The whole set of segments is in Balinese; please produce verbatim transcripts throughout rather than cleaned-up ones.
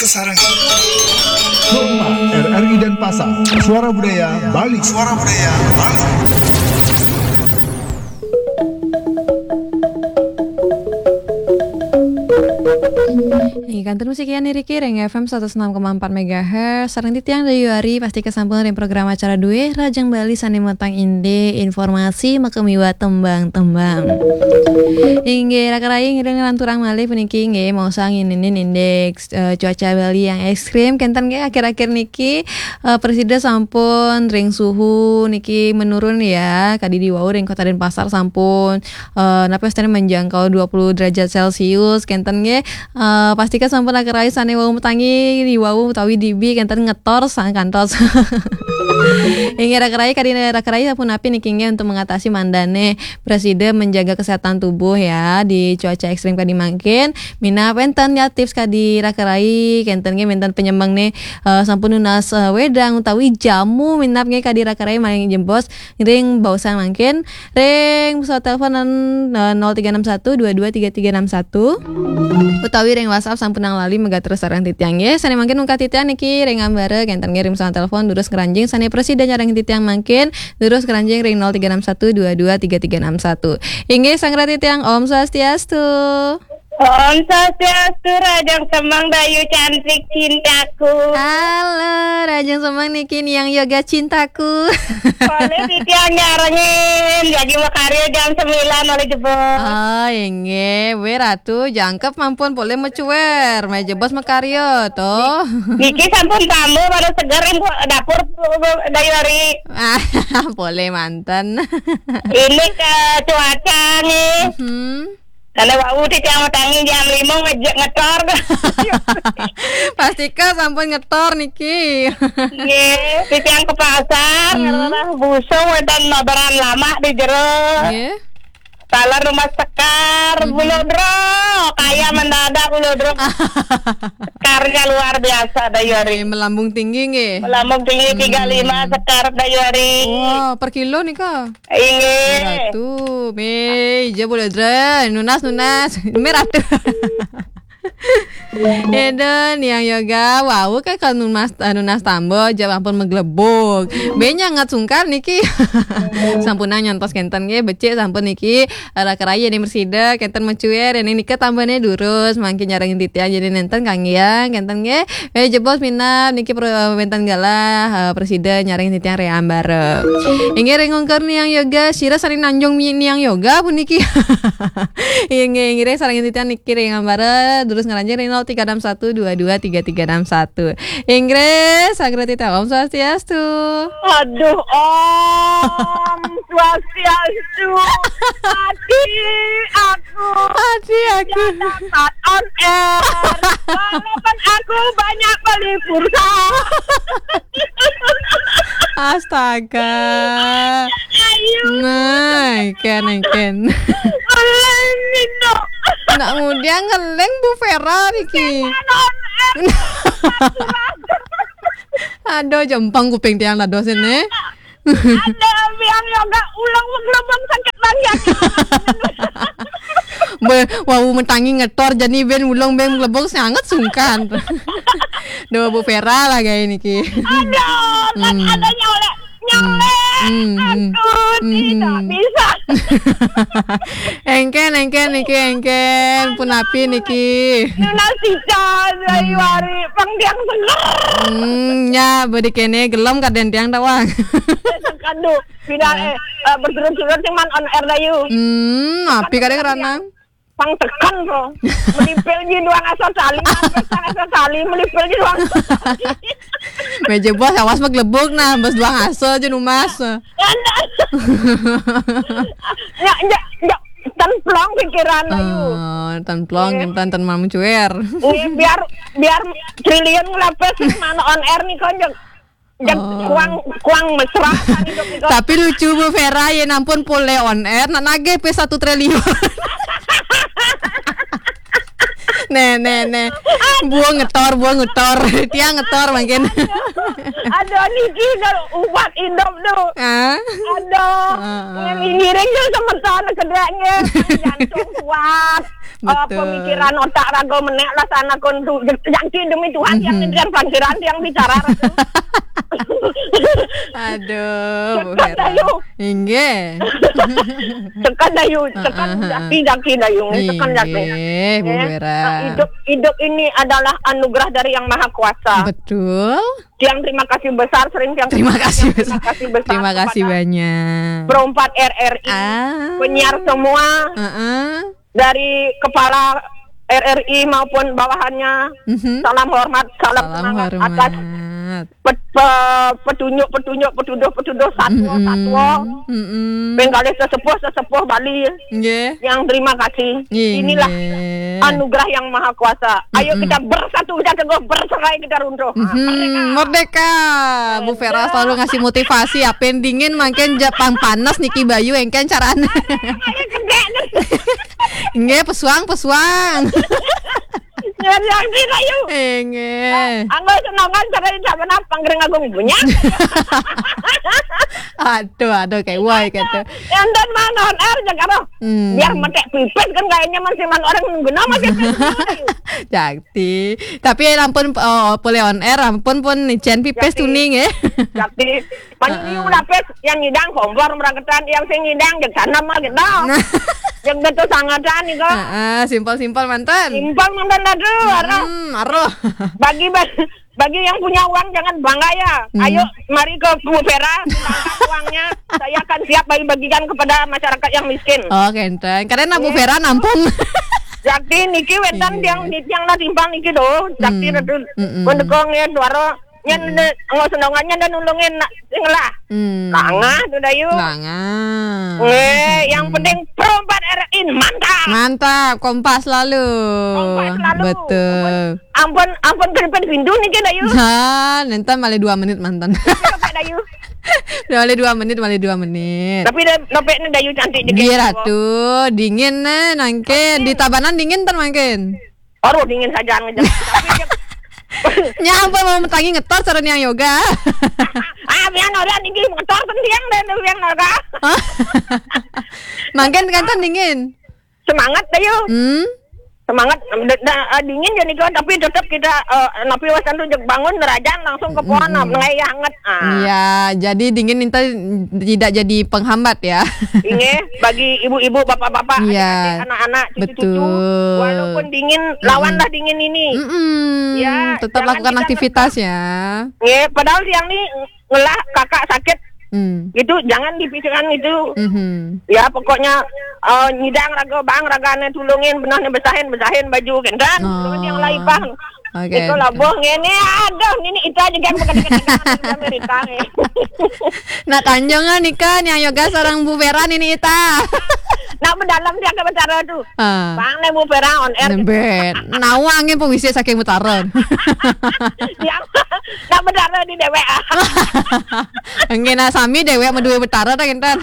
Sarang. Rumah R R I Denpasar. Suara Budaya Bali. Suara Budaya Bali. Ih, kantun musik ya niriki ring F M seratus enam koma empat megahertz. Sareng titiang Dayu Ari, pastika sampun ring program acara duwe Rajang Bali sane matang indik informasi makemiwa tembang-tembang. Inggih, raka rayi ngiring lanturang malih puniki inggih maosang ininin indeks, eh, cuaca Bali yang ekstrim. Kenten nggih akhir-akhir niki, eh, prasida sampun ring suhu niki menurun ya. Kadi di wau ring Kota Denpasar sampun, eh, napa wastane menjangkau dua puluh derajat Celcius. Kenten nggih, eh, pastika sampun raka rayi sane wau matangi di wau utawi dibi kenten ngetor sang kantos. Inggih raka rayi, kadi raka rayi sampun napi niki nggih untuk mengatasi mandane prasida menjaga kesehatan tubuh ya di cuaca ekstrim kadi mangkin. Minab enten ya tips kadi raka rayi, kenten nggih menten penyemeng ne, eh, sampun nunas, eh, wedang utawi jamu minab nggih kadi raka rayi maring jebos ring baosan mangkin ring pesawat telepon, eh, nol tiga enam satu dua dua tiga tiga enam satu utawi ring WhatsApp sampunang lali megaterus sareng titiang nggih. Sane mangkin ungkah titiang niki ring ambara kenten nggih ring pesawat telepon durus ngranjing sane prasida nyarengin titiang mangkin durus ngranjing ring nol tiga enam satu dua dua tiga tiga enam satu. Inggih, sang rati tiang, Om Swastiastu. Om Swastiastu, Rajang Semeng Dayu cantik cintaku. Halo, Rajang Semeng niki Niang Yoga cintaku. Boleh titiang nyarengin, jagi makarya jam sembilan oleh jebos. Oh, inggih, we Ratu, jangkep mampun polih macuer, meh jebos makarya, to. Niki sampun tambah, baru seger, ibu dapur, Dayu Ari. Ah, polih manten. Ini ke cuaca nih. Hmm. Kalau wau titiang matangi jam lima ngejek ngetor. Pastika sampun ngetor niki. Nggih, titiang ke pasar, hmm, ngelah busung wonten mabaran lama di jero. Nggih. Taler rumah sekar, hmm, bulodro, kaya mendadak bulodro. Sekarnya luar biasa, Dayu Ari. Nggih, melambung tinggi nggih. Melambung tinggi, hmm, tiga lima sekar, Dayu Ari. Wah, per kilo nika. Inggih. Ratu, me, ija boleh dre, nunas, nunas. Me Ratu. Eda Niang Yoga, wau ke kalau nunas, nunas tambah, jawab ampun maglebug. Be nyangat sungkan niki. Sampunang nyantos kenten nggih, becik sampun niki. Raka rayi ne prasida, kenten macuer, ne nika tambahne durus, mangkin nyarengin titiang jadi nenten kanggiang, kenten nggih. Eh, jebos minab niki pro-, wenten galah, eh, prasida nyarengin titiang ring ambara. Inggih ring ungkur Niang Yoga, sira saling nanjung mi-, Niang Yoga puniki. Inggih, inggih ring sarengin titiang niki ring ambara, durus ngranjing ring nol tiga enam satu dua dua tiga tiga enam satu. Inggih, sagrati Om Swastiastu. Aduh, Om Swastiastu. Hati aku. Hati aku. Tidak dapat on air. Walaupun aku banyak beli pulsa. Astaga. Ayu. Nah, ken, ken. Oleh Mindo. Nak ngudiang ngeling Bu Vera niki. On air. Aduh, jempang kuping tiang dados ini. Ada biang yoga ulang maglebug sakit banget. Be, wau matangi ngetor jani ben ulang ben maglebug sangat sungkan. Duh, Bu Vera lah gaya niki. Aduh, kan hmm, ada nyolek. Nyolek. Hmm, hmm. Aku hmm, tidak hmm, bisa. Engken, engken niki, engken. Punapi niki. Nunas ical, hmm, Dayuari, pang tiang seger. Hmm, ya, bedi kene gelem kaden tiang tawang. Aduh, pindah, eh, eh, berturut-turut cuman on air Dayu. Hmm, api kadang ranang. Pang tekan to. Melipil ji duang asa tali, pang tekan asa tali, melipil ji duang asa tali. Meja bos, awas maglebug nah, bos duang asa aja numas. Anda. Ya, ya, ya. Tan plong pikiran Dayu. Oh, tan plong, iya, tan, tan mau mencuer. Iya, biar, biar triliun ngelapis mana on air nih, konjok. Jam oh, kuang, kuang mesra kan hidup nih, kok. Tapi lucu Bu Vera, ya ampun, pole on air, nak nagih pe satu triliun. Nih, nih, nih. Buang ngetor, buang ngetor. Tiang ngetor mungkin. Aduh, niki kalau ubat indop tuh. Ah? Aduh, ngiring tuh sementara kedaknya. Jantung kuat. Betul. Pemikiran otak raga menek lah sana kon tu. Janji demi Tuhan yang ngejar pangkiran yang bicara. Aduh, Bu Vera. Inggih. Tekan Dayu, tekan jaki-jaki Dayu, tekan jaki. Inggih, Bu Vera. Nah, hidup, hidup ini adalah anugerah dari Yang Maha Kuasa. Betul. Tiang terima kasih besar, sering tiang terima kasih besar. Terima kasih banyak. Pro empat R R I, penyiar semua, dari kepala R R I maupun bawahannya. Salam hormat, salam semangat atas petunjuk-petunjuk, petuduh-petuduh, satwa-satwa, penggalih sesepuh-sesepuh Bali. Nggih. Yang terima kasih. Inilah anugerah Yang Maha Kuasa. Ayo kita bersatu, kita teguh, bercerai kita runtuh. Merdeka. Bu Vera selalu ngasih motivasi. Apa yang dingin makin Jepang panas niki bayu engken carane. Nggih, pesuang, pesuang. Nyari yang kita yuk. Nggih. Anggo senongan cara di zaman apa ngereng agung punya. Aduh, aduh, kayak wah gitu. Yang dan mana on air jaga roh. Biar metek pipis kan kayaknya masih man orang nunggu nama sih. Jakti. Tapi ampun, oh, boleh on air, ampun pun nicen pipis tuning ya. Jakti. Manyu lapis yang ngidang kompor meragetan, yang sing ngidang jek tanam mah gitu. Yang betul sangatan nih kok. Heeh, simpel-simpel mantan. Simpel mantan aduh, aroh. Hmm, aroh. Bagi bagi yang punya uang jangan bangga ya. Ayo mari ke Bu Vera, uangnya saya akan siap bagi-bagikan kepada masyarakat yang miskin. Oh, kenten. Karena Bu Vera nampung. Jakti niki wénten tiang tiang lah timpang niki doh. Jakti redu mendukung ya suara. Nyen nggak senongannya dan nulungin nak sing lah. Langah tuh Dayu. Langah. Eh, yang penting Pro empat R I mantap. Mantap, kompas selalu. Kompas selalu. Betul. Ampun, ampun keripik pintu nih Dayu. Nah, nanti malah dua menit mantan. Dayu. Malah dua menit, malah dua menit. Tapi dah nopek nih Dayu cantik juga. Iya ratu, dingin nih nangkin. Di Tabanan dingin tan mangkin. Aduh dingin saja ngejak. Nya ampun mau metangi ngetor cara niang yoga. Ah, biar orang tinggi ngetor penting dan biar orang. Mangkin kan tan dingin. Semangat Dayu. Hmm. Semangat da, da, dingin jadi kau tapi tetap kita uh, napi wasan tuh bangun nerajan langsung ke pohon ngaya hangat. Ah. Iya, jadi dingin itu tidak jadi penghambat ya. Inge bagi ibu-ibu, bapak-bapak, iya, adik-adik, anak-anak, cucu-cucu, betul, walaupun dingin, lawanlah dingin ini. Mm-mm. Ya, tetap lakukan aktivitas ya. Nge, padahal tiang nih ngelah kakak sakit. Hmm. Gitu, jangan dipikirkan itu. Ya, pokoknya uh, nyidang raga bang, ragane tulungin, benahne besahin, besahin baju, kan? Tulungin yang lain pang. Oke. Iko labuh ngene, aduh, nini ita juga bukan dekat-dekat Amerika. Nak kanjeng nika niang yoga sareng Bu Vera nini ita. Nak mendalam dia ke bicara tu. Ah. Bang ne Bu Vera on air. Nembet. Nawangin pun bisa saking mutaran. Ya, nak mendalam di dewek. Enggak nak sami dewek meduwe betara ta kinten.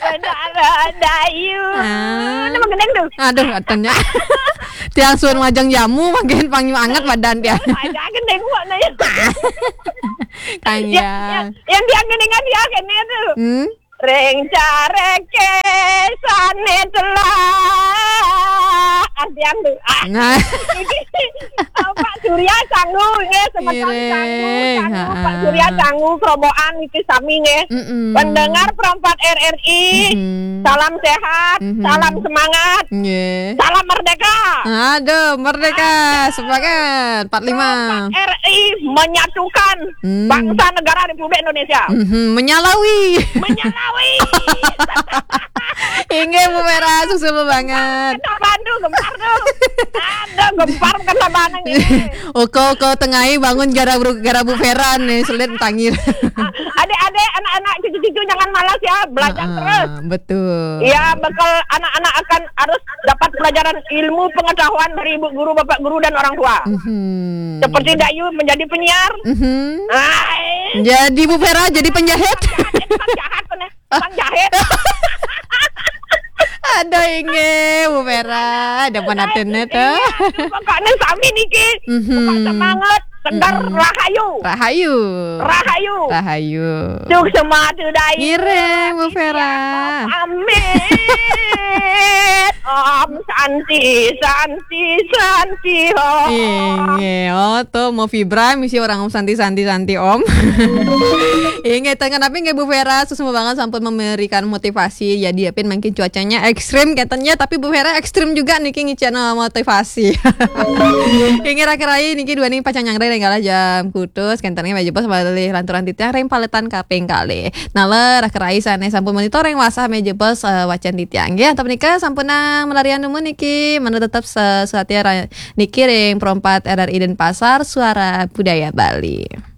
Betara Dayu. Ah. Nama gendeng tu? Aduh, katanya. Tiang suan majang jamu makin panggil anget badan dia. Ada gendeng buat nanya. Kang ya. Yang dia gendeng dia kene tu. Hmm? Reng careke sane telah. Artian tu. Ah. Nah. Pak Surya sanggu nggih, semeton sanggu, sanggu. Pak Surya sanggu, kerobokan iki sami nggih. Pendengar Perempat R R I, salam sehat, salam semangat, nggih, salam merdeka. Aduh, merdeka, semangat. Empat lima. Perempat R R I menyatukan bangsa negara Republik Indonesia. Menyalawi. Menyalawi. Inggih Bu Vera, susu banget. Bantu gempar tu. Ada gempar kan sabanang ini. Oko oko tengai bangun gara Bu, gara Bu Vera nih, selit tangir. Adik-adik, anak-anak, cucu-cucu jangan malas ya, belajar terus. Betul. Ya, bekal anak-anak akan harus dapat pelajaran ilmu pengetahuan dari ibu guru, bapak guru dan orang tua. Seperti Dayu menjadi penyiar. Jadi Bu Vera jadi penjahit. Penjahat, penjahat. Bang jahit. Aduh, inggih, Bu Vera, ada penatennya tuh. Pokoknya sami niki. Mhm. Semangat, segar, rahayu. Rahayu. Rahayu. Rahayu. Sukses madu daya. Ngiring, Bu Vera. Amin. Om Santi, Santi, Santi, Om. Inggih, oh tuh mau Fibra misi orang Om Santi, Santi, Santi, Om. Inggih, tengah tapi nggih Bu Vera, susah banget sampun memberikan motivasi. Jadi ya pin mungkin cuacanya ekstrim katanya, tapi Bu Vera ekstrim juga niki ngicana motivasi. Inggih, rakerai niki dua nih pacang nyangrai ring galah jam kutus, kentennya wajib pas balik lanturan titiang ring paletan kaping kali. Nah, rakerai sana sampun monitor ring wasah meja bos, eh, wacan titiang. Ya, tapi nika sampun nang melarian dulu niki, mana tetap sesuatu ya, ra-, niki ring perempat R R I Denpasar, Suara Budaya Bali.